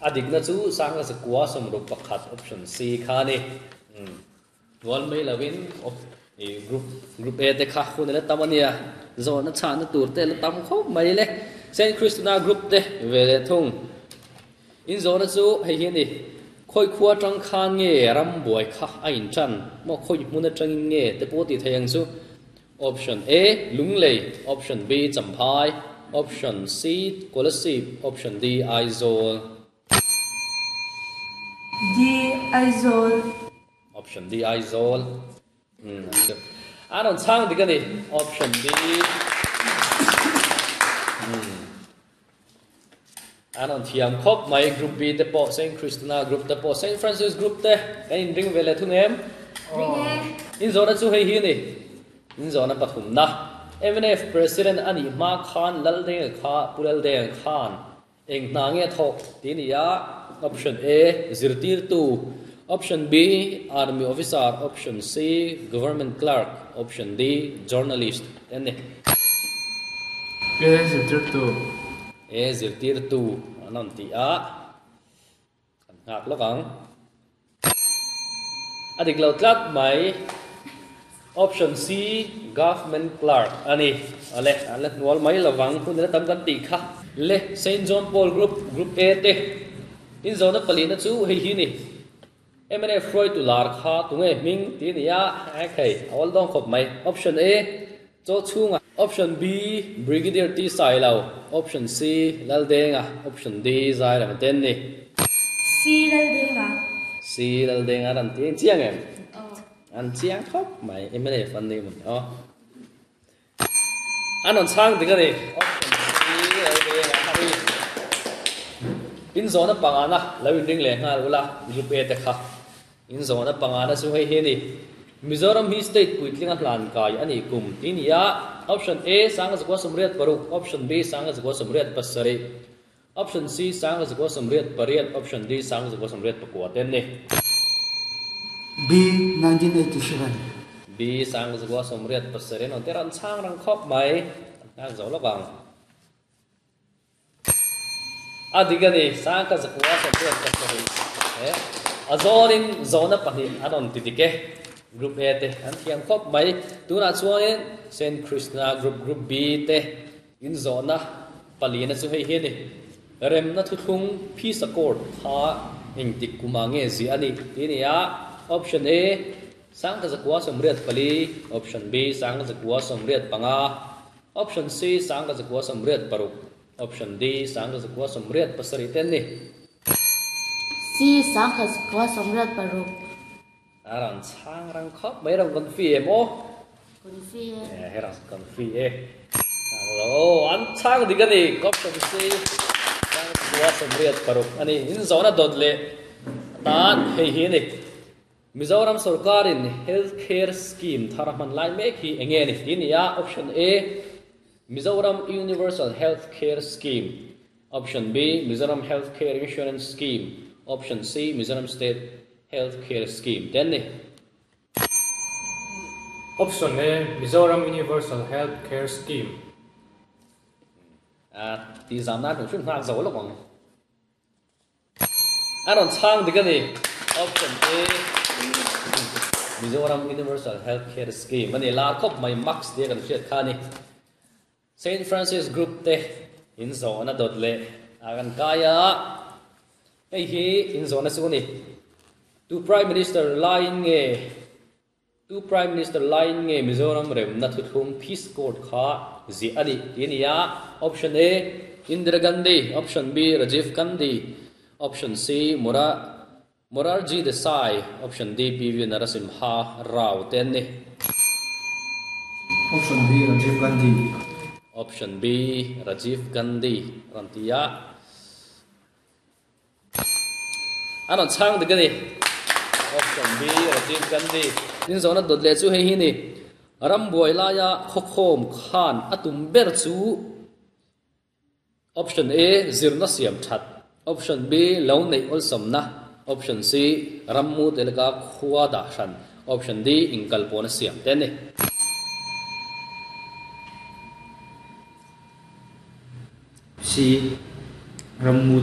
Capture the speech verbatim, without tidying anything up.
Adik na chu sanga zakua somruk pakhat option C kha ni. Wal mai lawin op group group A te kha hun le tamania zo na cha na tur te la tam khop mai le Saint Christina group te ve le thung in zo na chu hei hi ni khoi khua tang khan nge ram buai kha a in chan mo khoi mun atang nge te po ti thayang chu option A Lunglei, option B Champhai, option C Kolasib, option D Aizawl. D Aizawl. Option D Aizawl. Hmm. Anon chang digani option D. Hmm. Anon thiam khop mai group B te po Saint Christina group te po Saint Francis group te kan in ring vele thung em. Ring e. In zona chu hei hi ni. In zona pathum na. M N F President ani ma khan Laldeng kha Pulaldeng khan eng na nge thok ti ni ya option A zirtir tu, option B army officer, option C government clerk, option D journalist. Enne A zirtir tu. A zirtir tu anon ti a kan ngak lokang adik lo tlat mai option C government clerk ani ale ale nual mai lawang hun le tam kan ti kha le Saint John Paul group group A te in zona palina chu hei hi ni M N F Freud tu lar kha tunge ming ti ni ya a khei awal dong khop mai option A cho chunga, option B Brigadier T Sailo, option C Laldenga, option D Zai ram ten ni. C Laldenga. C Laldenga ran ti chiang em an chiang khop mai M N F an ni mun o anon chang ti ka ni option C Laldenga hari in zona pangana lawin ring le ngal ula group A te kha in zona pangana chu hei he ni Mizoram hi state puitlinga hlan kai ani kum tinia option A sanga zakwa somriat paruk, option B sanga zakwa somriat pasari, option C sanga zakwa somriat pariat, option D sanga zakwa somriat pakua ten ni. B nineteen eighty-seven. B sanga zakwa somriat pasari non teran chang rang khop mai ngang zo lokang adigani sanga zakwa somriat pasari eh azorin zona pahnih anon titike group A te an thiam khop mai tuna chuanin Saint Krishna group group B te in zona palina chu hei hi ni remna thu thlung peace accord kha eng tik kuma nge zi ani tinia option A sangka zakwa somriat pali, option B sangka zakwa somriat panga, option C sangka zakwa somriat paruk, option D sangka zakwa somriat pasari ten ni. C sangka zakwa somriat paruk. Aran chang rang khop mai rang kon fi em o kon fi e he rang kon fi e alo an chang digani option C sangka zakwa somriat paruk ani in zona dot le tan hei hi ni Mizoram sarkarin health care scheme tharaman lai mek hi enge ni tinia option A Mizoram Universal Health Care Scheme, option B Mizoram Health Care Insurance Scheme, option C Mizoram State Health Care Scheme ten ni. Option A Mizoram Universal Health Care Scheme. A ti zamna tu shun hak zo lo bang aron chang digani option A Mizoram Universal Health Care Scheme ani la khop mai max de kan hriat kha ni Saint Francis group te in zona dot le agan kaya hei hi in zona chu ni tu Prime Minister line nge tu Prime Minister line nge Mizoram rem na thu thum peace court kha zi ani tinia option A Indira Gandhi, option B Rajiv Gandhi, option C Mura Morarji Desai, option D P V Narasimha Rao ten ni. Option B Rajiv Gandhi. Option B Rajiv Gandhi rantia anon chang de gani option B Rajiv Gandhi in zona dot le chu hei hi ni ram buai laia khokhom khan atum ber chu option A zirna siam that, option B lo nei olsam na, option C rammu telka khuwa da shan, option D inkal pona siam ten ni. C rammu